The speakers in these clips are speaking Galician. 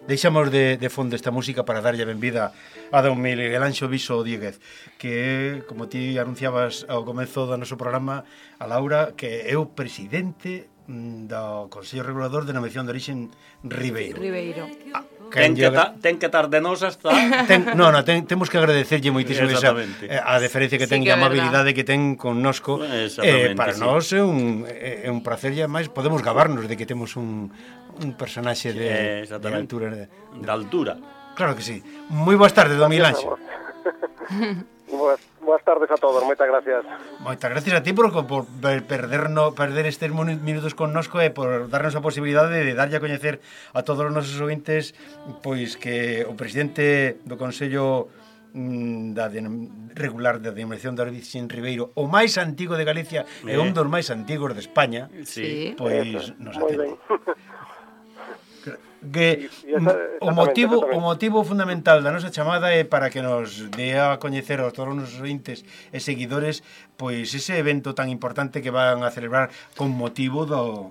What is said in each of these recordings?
Deixamos de fondo esta música para darlle a benvida a don Miguel Anxo Viso Díguez, que, como ti anunciabas ao comezo do noso programa, a Laura, que é o presidente do Consello Regulador de Denominación de Orixen Ribeiro. Ten que estar de nos hasta... Temos que agradecerlle moitísimo a deferencia que ten e a amabilidade que ten connosco. Para nós é un placer e ademais podemos gabarnos de que temos un personaxe de altura. De altura. Claro que sí. Moi boas tardes, don Miguel Anxo. Boas tardes a todos, moitas gracias. Moitas gracias a ti por perder estes minutos connosco e por darnos a posibilidade de darlle a coñecer a todos os nosos ouvintes pois que o presidente do Consello regular da Denominación de Orixen Ribeiro, o máis antigo de Galicia e un dos máis antigos de España, pois nos atende. Que o motivo fundamental da nosa chamada é para que nos dé a coñecer a todos os nosos ointes e seguidores pois ese evento tan importante que van a celebrar con motivo do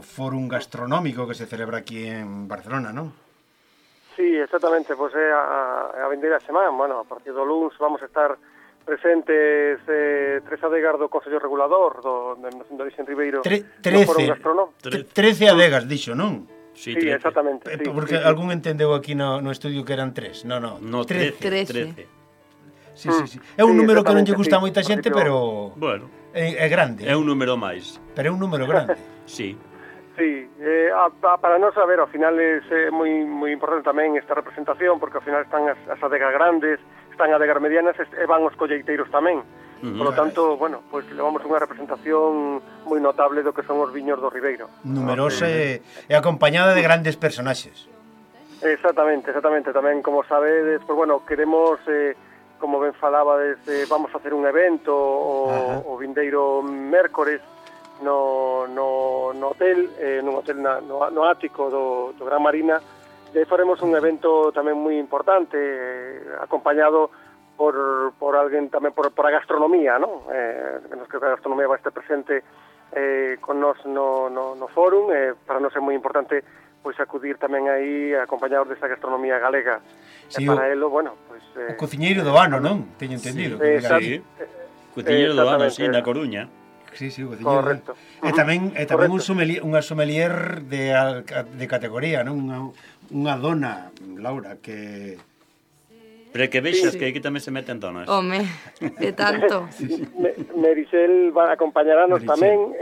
Fórum Gastronómico que se celebra aquí en Barcelona, non? Sí, exactamente, pois é a vindeira semana, bueno, a partir do luns vamos a estar presentes 3 adegas do Consello Regulador do Orixen Ribeiro do Fórum Gastronómico. 13 adegas, dixo, non? Sí, exactamente. Porque algún entendeu aquí no estudio que eran 3. No, 13. Sí. É un número que non lle gusta a moita xente, pero bueno, é grande. É un número máis. Pero é un número grande. Sí. Sí, para nós, a ver, ao final é moi importante tamén esta representación, porque ao final están as adegas grandes, están adegas medianas e van os colleiteiros tamén. Por lo tanto, bueno, pues levamos unha representación moi notable do que son os viños do Ribeiro. Numerosa e acompañada de grandes personaxes. Exactamente. Tamén, como sabedes, pues bueno, queremos, como ben falabades, vamos a hacer un evento o vindeiro mércores no hotel, nun hotel no ático do Gran Marina. E faremos un evento tamén moi importante, acompañado por alguén tamén por a gastronomía, non? Nos que a gastronomía vai estar presente con nos no fórum, para nós é moi importante pois acudir tamén aí acompañados desa gastronomía galega. Sí, para elo, bueno, pois o cociñeiro do ano, non? Teño entendido. Sí. Cociñeiro do ano, sí, na Coruña. Sí, o cociñeiro. Correcto. E tamén unha sommelier de categoría, non? Unha dona, Laura, que pero que vexas que aquí tamén se meten donas. Home, de tanto. Merisel acompañaranos tamén,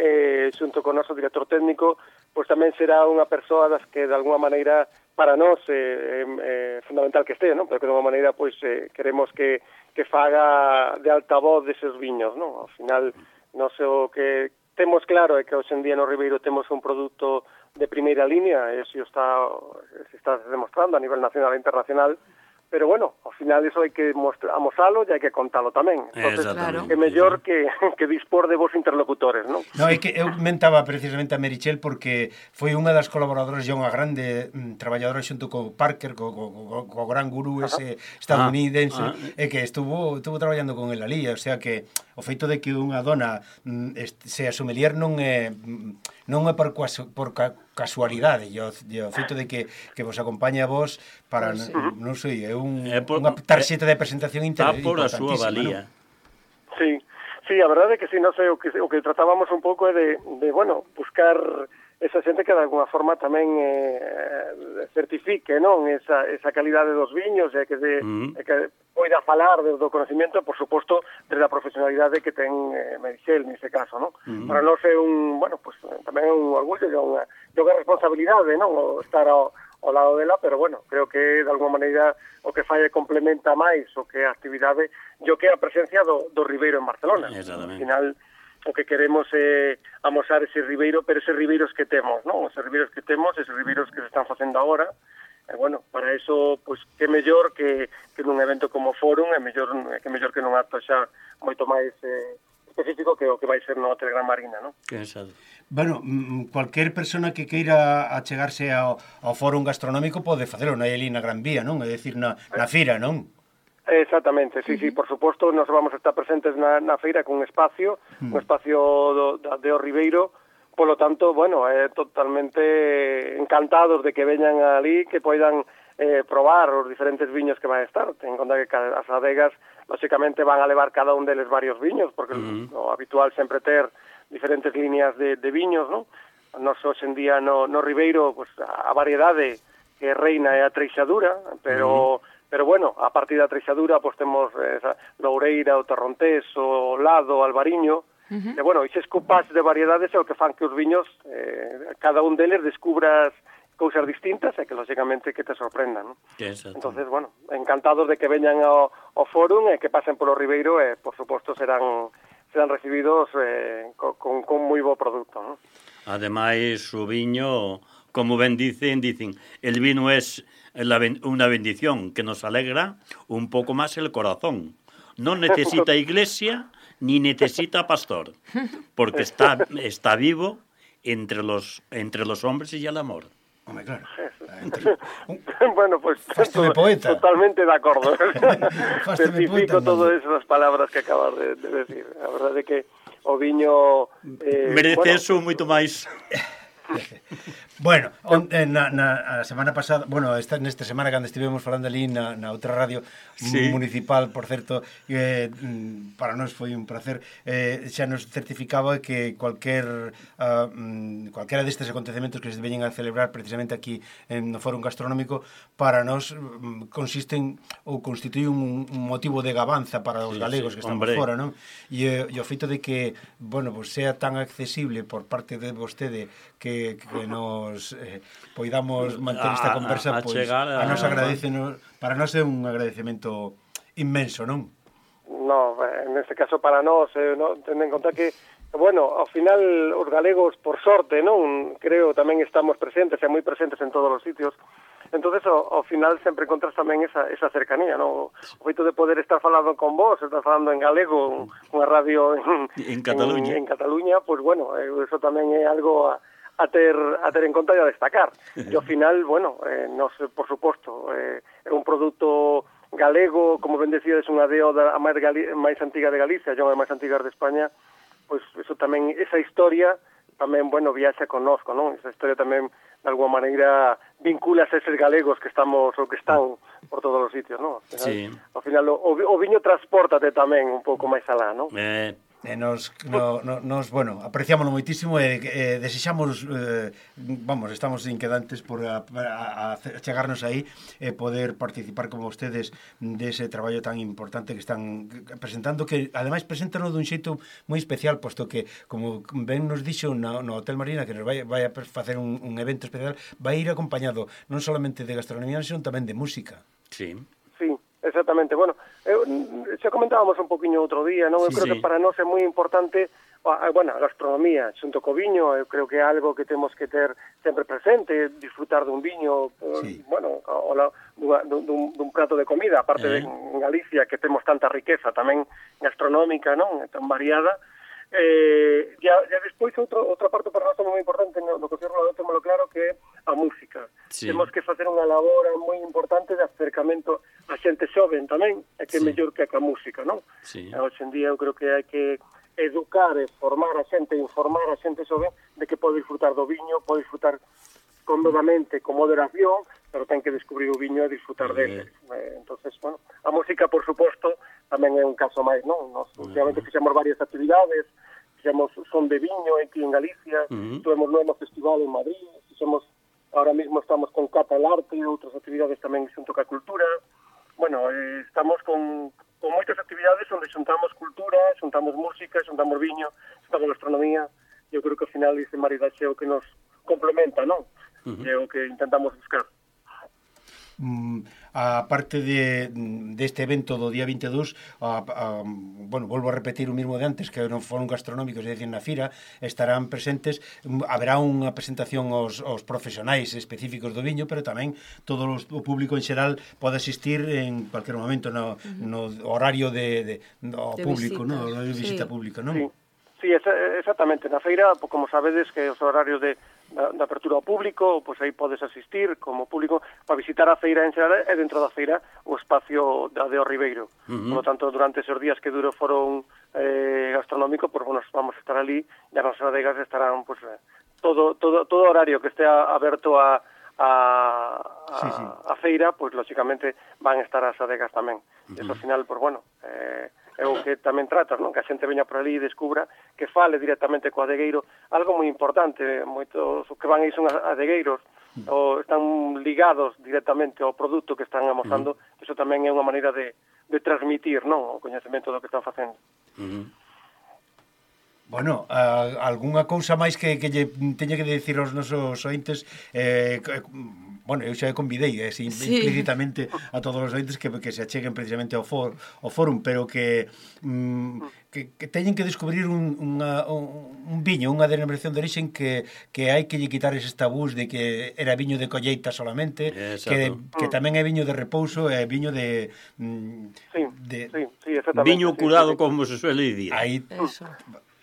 xunto con o noso director técnico, pois tamén será unha persoa das que de alguma maneira para nós é fundamental que este, non? Pero que de alguma maneira pois queremos que faga de altavoz deses viños, non? Ao final, nós o que temos claro é que hoxe en día no Ribeiro temos un produto de primeira línea, e se está demostrando a nivel nacional e internacional. Pero bueno, ao final iso hai que amosalo e hai que contalo tamén. Entonces, é mellor que dispor de vos interlocutores, non? No, é que eu mentaba precisamente a Merichel porque foi unha das colaboradoras e unha grande traballadora xunto co Parker, co gran gurú ese estadounidense, e que estuvo traballando con el alí, o sea que o feito de que unha dona sea sommelier non é por casualidade, e o feito de que vos acompaña a vos para, non sei, é unha tarxeta de presentación importantísima. Por a súa valía. Sí, a verdade é que sí, non sei, o que tratábamos un pouco é de bueno, buscar esa xente que de alguna forma tamén certifique, non, esa calidade dos viños e que poida falar do conocimiento, por suposto, desde a profesionalidade que ten Merisel nese caso, non? Para nós é tamén é un orgullo e unha responsabilidade, non, estar ao lado dela, pero bueno, creo que de alguma maneira o que fai complementa máis o que a actividade e o que é a presencia do Ribeiro en Barcelona. Al final, o que queremos é amosar ese Ribeiro, pero eses Ribeiros que temos, non? Eses Ribeiros que temos, eses Ribeiros que se están facendo agora. E bueno, para eso, pois, que mellor que nun evento como Fórum, que mellor que nun acto xa moito máis específico que o que vai ser no Hotel Gran Marina, non? Bueno, cualquier persona que queira achegarse ao Fórum Gastronómico pode facelo, non hai ali na Gran Vía, non? É dicir, na fira, non? Exactamente, sí, por suposto, nos vamos a estar presentes na feira con un espacio de O Ribeiro, Polo tanto, bueno, totalmente encantados de que veñan ali, que poidan probar os diferentes viños que van a estar. Ten en conta que as adegas, lógicamente, van a levar cada un deles varios viños, porque o habitual sempre ter diferentes líneas de viños, non? Nos hoxe en día no Ribeiro, pues, a variedade que reina é a treixadura, pero bueno, a partir da treixadura, pues, temos Loureira, o Torrontés, o Lado, o Albariño, e, bueno, eses cupás de variedades é o que fan que os viños, cada un deles descubras cousas distintas e que, lógicamente, que te sorprendan, non? Entonces, bueno, encantados de que veñan ao fórum e que pasen polo Ribeiro e, por suposto, serán recibidos con moi bo produto, non? Ademais, o viño, como ben dicen, el vino es una bendición que nos alegra un poco más el corazón. No necesita iglesia ni necesita pastor, porque está vivo entre los hombres y el amor. Home, claro. Bueno, pues poeta. Totalmente de acordo. Certifico todas esas palabras que acabas de decir. A verdade é que o viño... merece eso moito máis. Bueno, na semana pasada, bueno, nesta semana cando estivemos falando ali na outra radio municipal, por certo, para nós foi un placer, xa nos certificaba que calquera destes acontecementos que se veñen a celebrar precisamente aquí no Fórum Gastronómico, para nós consisten ou constituye un motivo de gabanza para os galegos que estamos fora, non? E o feito de que, bueno, pues sea tan accesible por parte de vostede que nos poidamos manter esta conversa, pois a nos agradecenos, para nós é un agradecemento inmenso, non? No, neste caso para nós, ten en conta que, bueno, ao final os galegos, por sorte, non, creo tamén estamos presentes, e moi presentes en todos os sitios. Entonces, ao final sempre encontras tamén esa cercanía, non? O feito de poder estar falando con vos, estar falando en galego, unha radio en Cataluña, pues bueno, eso tamén é algo a ter en conta e a destacar. E ao final, bueno, nos, por suposto, é un produto galego, como ben decíades, unha deo a máis antiga de Galicia, a máis antiga de España, pois eso tamén, esa historia tamén, bueno, viaxa connosco, non? Esa historia tamén, de alguma maneira, vincula a eses galegos que estamos ou que están por todos os sitios, non? Ao final, o viño transpórtate tamén un pouco máis alá, non? Nos bueno, apreciámoslo moitísimo e desexamos, vamos, estamos inquedantes por a chegarnos aí e poder participar como vostedes dese traballo tan importante que están presentando, que ademais preséntano dun xeito moi especial, posto que, como ben nos dixo no Hotel Marina, que nos vai a facer un evento especial, vai ir acompañado non solamente de gastronomía, senón tamén de música. Sí. Exactamente, bueno, xa comentábamos un poquinho outro día, non? Eu creo que para nós é moi importante, bueno, a gastronomía, xunto co viño, eu creo que é algo que temos que ter sempre presente, disfrutar dun viño, bueno, dun prato de comida, aparte de en Galicia, que temos tanta riqueza tamén gastronómica, non? Tan variada. Ya despois outra parte para nós moi importante no que témolo claro, que é a música. Temos que facer unha labor moi importante de acercamento a xente xoven tamén, é que é mellor que a música, non? Hoxe en día eu creo que hai que educar e formar a xente, informar a xente xoven de que pode disfrutar do viño, pode disfrutar cómodamente, con moderación, pero ten que descubrir o viño e disfrutar dele. Entonces, bueno, a música, por suposto, tamén é un caso máis, non? Nos últimamente fixemos varias actividades, fixemos son de viño aquí en Galicia, tuvemos no festival en Madrid, fixemos, ahora mismo estamos con Cata el Arte e outras actividades tamén xunto ca cultura. Bueno, estamos con moitas actividades onde xuntamos cultura, xuntamos música, xuntamos viño, xuntamos gastronomía. Eu creo que ao final ese maridaxe é o que nos complementa, non? É o que intentamos buscar. A parte deste evento do día 22, bueno, volvo a repetir o mismo de antes, que non foron gastronómicos, é dicir, na fira estarán presentes, haberá unha presentación aos profesionais específicos do viño, pero tamén todo o público en xeral pode asistir en cualquier momento no horario de público, no horario de visita pública, non? Sí, exactamente. Na feira, como sabedes, que os horarios de da apertura ao público, pois aí podes asistir como público para visitar a feira en xeral e dentro da feira o espacio da de O Ribeiro. Por lo tanto, durante esos días que duro foron gastronómico, pois bueno, vamos a estar ali e as nosas adegas estarán pois todo horario que estea aberto a feira, pois lógicamente van estar as adegas tamén. Eso ao final, pois bueno, é o que tamén tratas, non? Que a xente veña por ali e descubra que fale directamente co adegueiro, algo moi importante, moitos que van aí son adegueiros, ou están ligados directamente ao produto que están amosando, eso tamén é unha maneira de transmitir, non? O coñecemento do que están facendo. Bueno, algunha cousa máis que lle teña que decir aos nosos ointes, bueno, eu xa convidei implícitamente a todos os ointes que se acheguen precisamente ao fórum, pero que teñen que descubrir un viño, unha denominación de origen que hai que lle quitar eses tabús de que era viño de colleita solamente, que tamén é viño de repouso, é viño de... Sí, exactamente. Viño curado, como se suele dicir. Aí...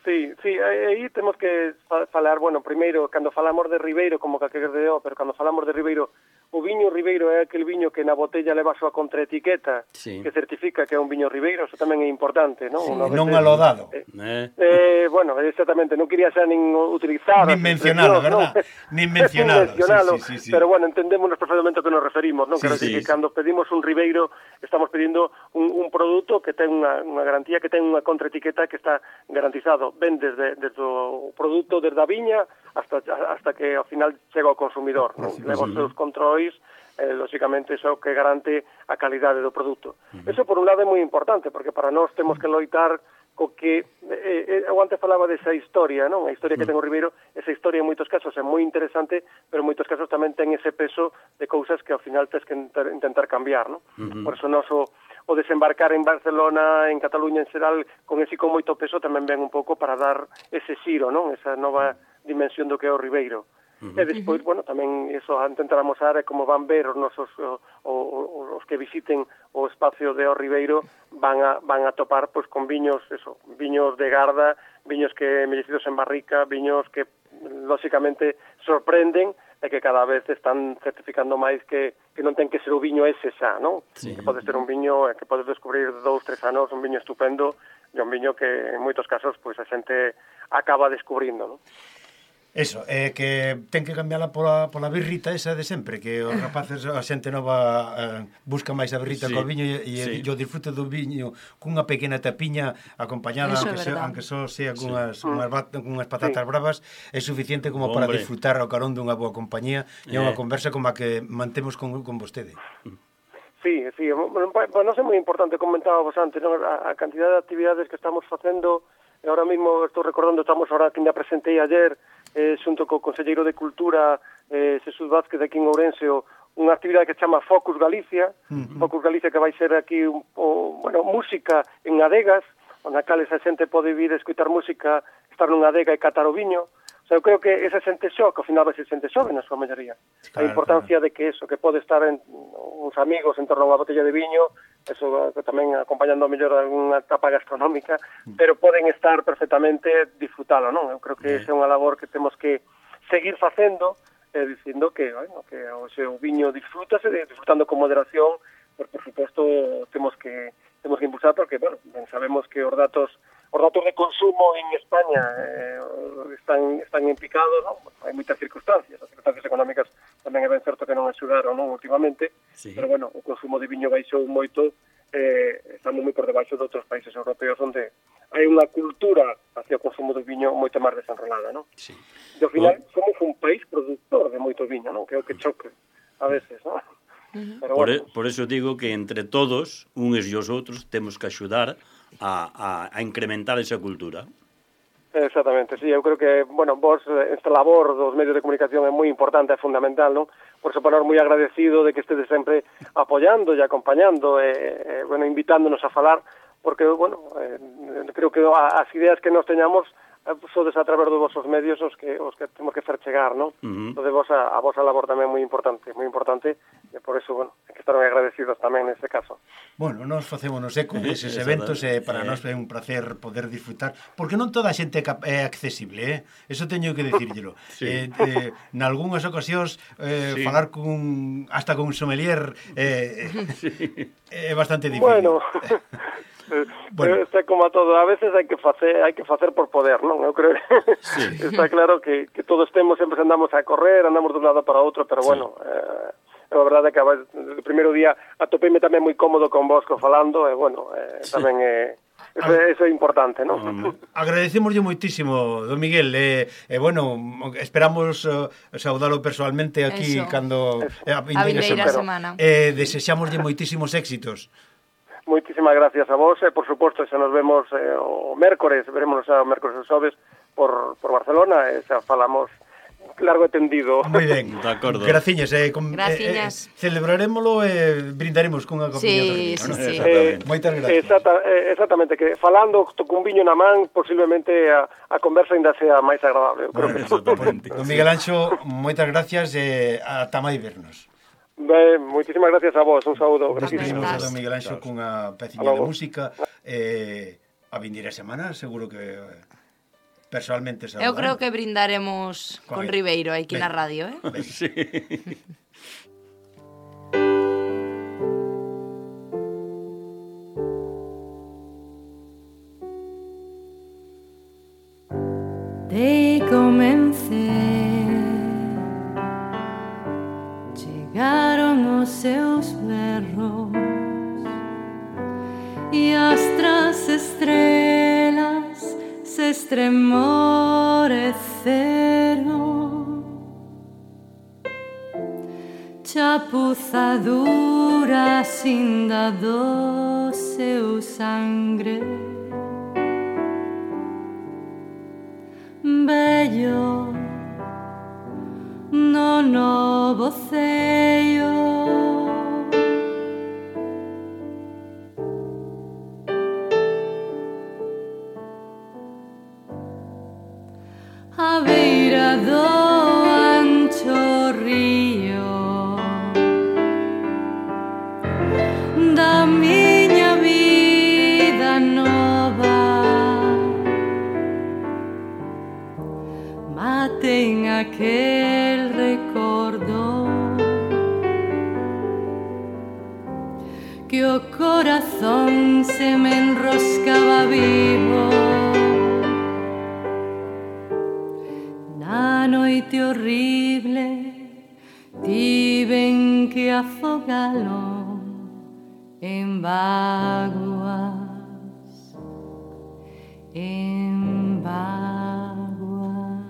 Sí, aí temos que falar, bueno, primeiro, cando falamos de Ribeiro, como que de pero cando falamos de Ribeiro, o viño Ribeiro é aquel viño que na botella leva a súa contraetiqueta, que certifica que é un viño Ribeiro, eso tamén é importante, non? Non alodado. Bueno, exactamente, non quería xa nin utilizar... Nin mencionalo, verdad? Nin mencionalo, sí. Pero bueno, entendemos perfectamente a que nos referimos, non? Quero dicir que cando pedimos un Ribeiro, estamos pedindo un produto que ten unha garantía, que ten unha contraetiqueta que está garantizado, ben desde o produto, desde a viña, hasta que ao final chega ao consumidor, non? Leva os seus controis, lógicamente iso que garante a calidade do produto. Eso por un lado é moi importante, porque para nós temos que loitar co que eu antes falaba desa historia, non? A historia que ten o Ribeiro, esa historia en moitos casos é moi interesante, pero en moitos casos tamén ten ese peso de cousas que ao final tens que intentar cambiar, non? Por eso nós o desembarcar en Barcelona, en Cataluña en xeral, con moito peso tamén ven un pouco para dar ese xiro, non? Esa nova dimensión do que é o Ribeiro. E despois, bueno, tamén iso a intentar amosar é como van ver os nosos os que visiten o espacio de O Ribeiro van a topar pois con viños de garda, viños que envellecidos en barrica, viños que lógicamente sorprenden e que cada vez están certificando máis que non ten que ser o viño ese xa, non? Que pode ser un viño que podes descubrir 2-3 anos, un viño estupendo e un viño que en moitos casos pois a xente acaba descubrindo, non? Eso, que ten que cambiarla pola birrita esa de sempre, que os rapaces, a xente nova busca máis a birrita co viño e o disfrute do viño cunha pequena tapiña acompañada, aunque só sea cunhas patatas bravas, é suficiente como para disfrutar ao carón dunha boa compañía e unha conversa como a que mantemos con vostede. Sí, para nós é moi importante, comentábamos antes, non? A cantidad de actividades que estamos facendo, e ahora mesmo estou recordando, estamos ahora que ainda presentei ayer, xunto co Conselleiro de Cultura, Xesús Vázquez, aquí en Ourense, unha actividade que se chama Focus Galicia, Focus Galicia que vai ser aquí, música en adegas, onde a cales a xente pode vir a escutar música, estar nunha adega e catar o viño. O sea, eu creo que esa xente que ao final vai ser xente xove na súa maioría. A importancia de que eso, que pode estar uns amigos en torno a unha botella de viño, eso tamén acompañando a mellor alguna etapa gastronómica, pero poden estar perfectamente disfrutalo, non? Eu creo que esa é unha labor que temos que seguir facendo, dicindo que, o seu viño disfrutando con moderación, pero por suposto temos que impulsar porque, sabemos que os datos de consumo en España están en picado, non? Hai moitas circunstancias, as circunstancias económicas tamén é ben certo que non axudaron, non, últimamente, pero o consumo de viño baixou moito, estamos moi por debaixo de outros países europeos onde hai unha cultura hacia o consumo de viño moito máis desenrolada, non? E ao final somos un país productor de moito viño, non? Que é o que choque a veces, non? Por eso digo que entre todos, uns e os outros, temos que axudar a incrementar esa cultura. Exactamente, sí, eu creo que, vos, esta labor dos medios de comunicación é moi importante, é fundamental, non? Por eso, moi agradecido de que estedes sempre apoiando e acompañando, invitándonos a falar, porque, creo que as ideas que nos teñamos sodes a través dos vosos medios os que temos que fer chegar, non? Entón, a vosa labor tamén é moi importante, e por eso, que estar agradecidos tamén neste caso. Bueno, nos facémonos eco deses eventos e para nós é un placer poder disfrutar, porque non toda a xente é accesible, eso teño que dicírllelo. Sí. Nalgúnas ocasións falar hasta con un sommelier é bastante difícil. Bueno, está como a todo, a veces hai que facer por poder, non? Eu creo que está claro que todos sempre andamos a correr, andamos de un lado para outro, pero bueno, a verdade é que o primeiro día atopeime tamén moi cómodo con vos falando, e bueno, tamén eso é importante, non? Agradecemoslle moitísimo, don Miguel, bueno, esperamos saudalo personalmente aquí cando a vindeira semana. Desexamoslle moitísimos éxitos. Moitísimas gracias a vos, e por suposto, se nos vemos o mércores, veremos o mércores e xoves por Barcelona, e xa falamos largo e tendido. Moi ben, de acordo. Graciñas, celebraremoslo e brindaremos cunha copiña. Sí. Moitas gracias. Exactamente, que falando cun viño na man, posiblemente a conversa ainda sea máis agradable. Don Miguel Anxo, moitas gracias e ata máis vernos. Ben, moitísimas gracias a vos, un saúdo. Despedimos a don Miguel Anxo cunha peciña de música. A vindeira semana, seguro que personalmente saludarán. Eu creo que brindaremos con Ribeiro aquí na radio, Sí. Dei comecei, chegaron os seus berros e as tras estrelas se estremoreceron. Chapuzadura cinda do seu sangre, bello no novo ceio. A beira do ancho río da miña vida nova, maten aquel recordo que o corazón se me enroscaba vivo. Noite horrible tiven que afogalo en vaguas, en vaguas.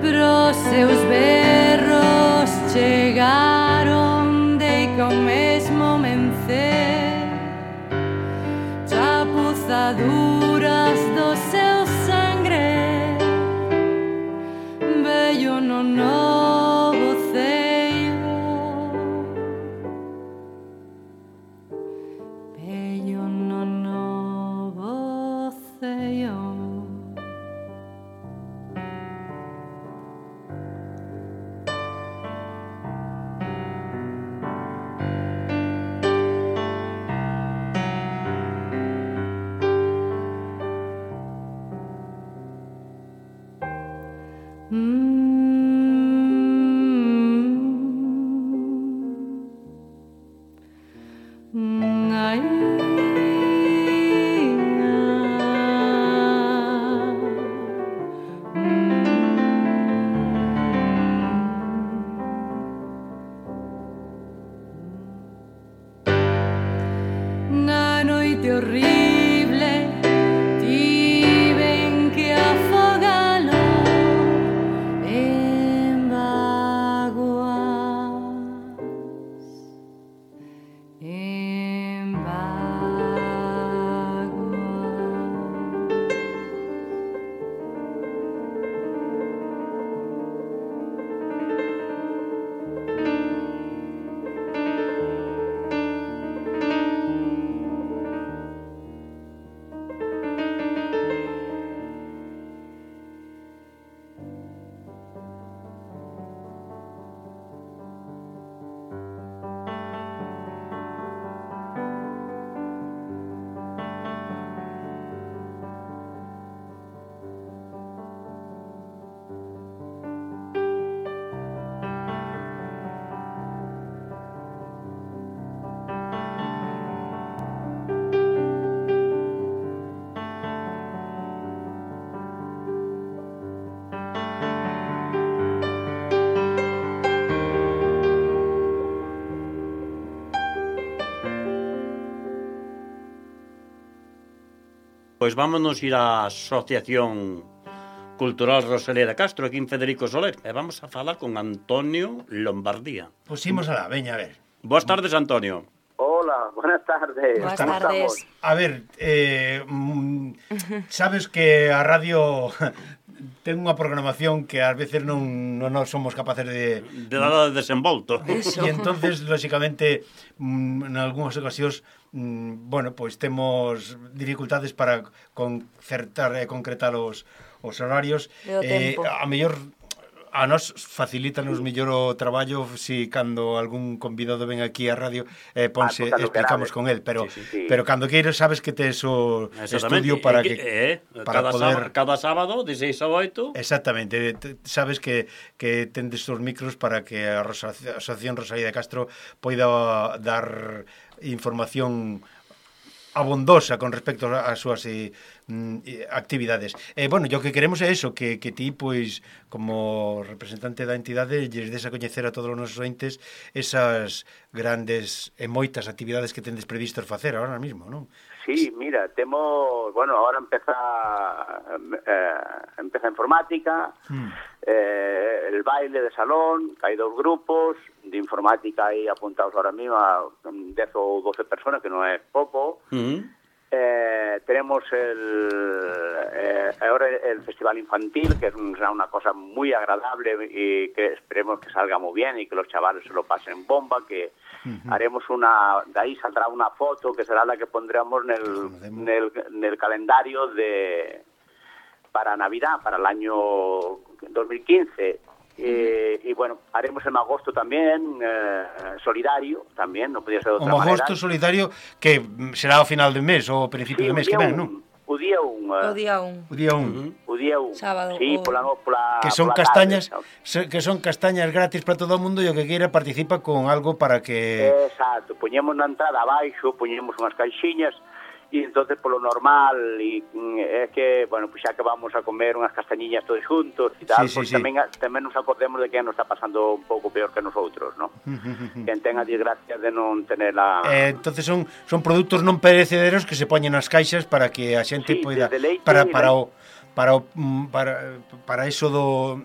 Pros seus berros chegaron de con mesmo mencer, chapuzaduras do seu sangre, bello no novo ceio, bello no novo ceio. Na noite horrible tiven que afogalo Pois vámonos ir á Asociación Cultural Rosalía de Castro, aquí en Federico Soler, e vamos a falar con Antonio Lombardía. Pois imos alá, veña, a ver. Boas tardes, Antonio. Hola, buenas tardes. Buenas ¿Cómo tardes. estamos? A ver, sabes que a radio ten unha programación que ás veces non somos capaces de nada de desenvolto. E entonces, lóxicamente, en algunhas ocasións, bueno, pois temos dificultades para concertar e concretar os horarios. A mellor a nos facilítanos mellor o traballo si cando algún convidado ven aquí á radio ponse, explicamos con él, pero cando queiras sabes que tes o estudio para para poder cada sábado de 6 a 8. Exactamente, sabes que tendes os micros para que a Asociación Rosalía de Castro poida dar información abondosa con respecto ás súas actividades. Bueno, o que queremos é eso, que ti, pois, como representante da entidade, lles des a coñecer a todos os nosos ointes esas grandes e moitas actividades que tendes previstos facer ahora mesmo, non? Sí, mira, temos, bueno, ahora empeza informática, el baile de salón, que hai 2 grupos, de informática aí apuntados ahora mismo a 10 ou 12 personas, que non é pouco. Tenemos ahora el festival infantil, que será una cosa muy agradable y que esperemos que salga muy bien y que los chavales se lo pasen bomba, que haremos de ahí saldrá una foto que será la que pondremos en el calendario para Navidad, para el año 2015. Y bueno, haremos en agosto también solidario, también, no podía ser de otra manera. Un agosto solidario que será ao final do mes ou ao principio do mes que ven, non? O día 1. Sábado. Sí, pola que son castañas, que son castañas gratis para todo o mundo e o que queira participa con algo para que... Exacto, poñemos na entrada abaixo, poñemos unhas caixinhas e entonces polo normal é que, bueno, pues xa que vamos a comer unhas castañiñas todos juntos e tal, pues tamén nos acordemos de que nos está pasando un pouco peor que nosotros, ¿no? Quen ten a desgracia de non tener a... entonces son produtos non perecederos que se poñen nas caixas para que a xente poida... Para eso do...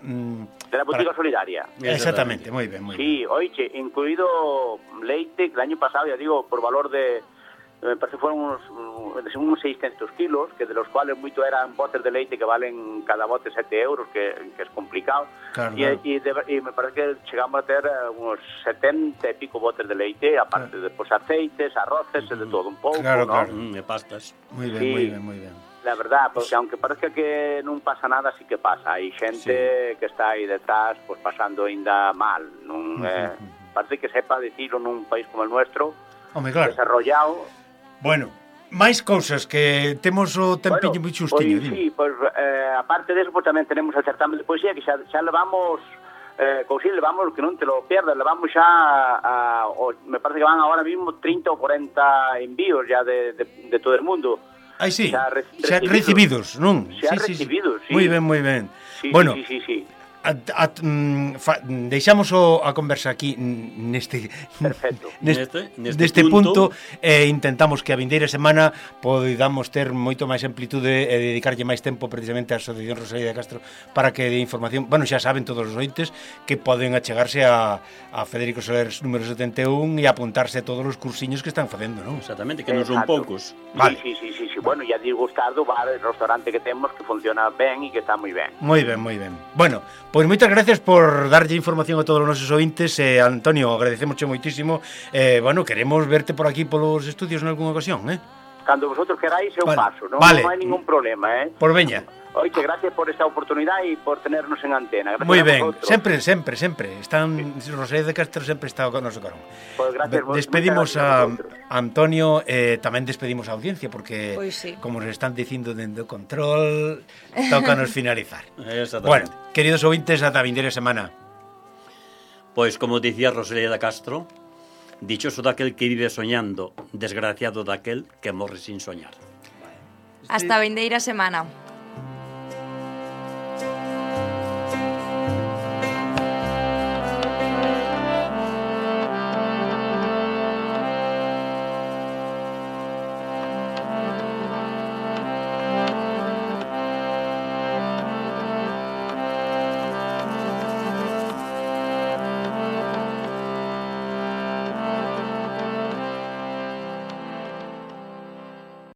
de la botica solidaria. Exactamente, moi ben, moi ben. Sí, oiche, incluído leite, que el año pasado, ya digo, por valor de... me parece que fueron unos 600 kilos, que de los cuales muchos eran botes de leite que valen cada bote 7 euros, que es complicado. Claro, y me parece que llegamos a tener unos 70 y pico botes de leite, aparte de pues, aceites, arroces, de todo un pouco, claro, ¿no? Claro, de pastas. Muy bien, muy bien. La verdad, porque aunque parezca que non pasa nada, sí que pasa. Hai xente que está aí detrás, pues pasando ainda mal. Non, parece que sepa decirlo nun país como el nuestro, claro, desarrollado. Bueno, máis cousas que temos o tempiño moi xustiño. Sí, pues aparte de eso, pues tamén tenemos el certamen de poesía que xa levamos, levamos, que non te lo pierdas, levamos xa me parece que van ahora mismo 30 o 40 envíos ya de todo el mundo. Ai, sí, xa recibidos, non? Xa recibidos, sí. Moi ben. Sí, bueno, sí. Deixamos a conversa aquí neste punto intentamos que a vindeira semana podamos ter moito máis amplitude e dedicarlle máis tempo precisamente á Asociación Rosalía de Castro para que de información, bueno, xa saben todos os ointes que poden achegarse a Federico Soler número 71 e apuntarse a todos os cursiños que están facendo, non? Exactamente, que non son poucos. Vale. Sí. Bueno, ya digo, Gustardo, el restaurante que temos que funciona ben e que está moi ben. Moi ben. Bueno, pois moitas gracias por darlle información a todos os nosos ointes. Antonio, agradecemos moitísimo. Bueno, queremos verte por aquí polos estudios en algunha ocasión, Cando vosotros queráis eu paso, non vale. Non hai ningún problema, Por veña. Oiche, gracias por esta oportunidade e por tenernos en antena. Moi ben, sempre. Están Rosalía de Castro sempre está con noso carón. Pues gracias, despedimos a Antonio, tamén despedimos a audiencia porque sí, como nos están dicindo dentro do control, tócanos finalizar. Bueno, queridos ouvintes, ata a vindeira semana. Pois como dicía Rosalía de Castro, dichoso daquel que vive soñando, desgraciado daquel que morre sin soñar. Hasta a vindeira semana.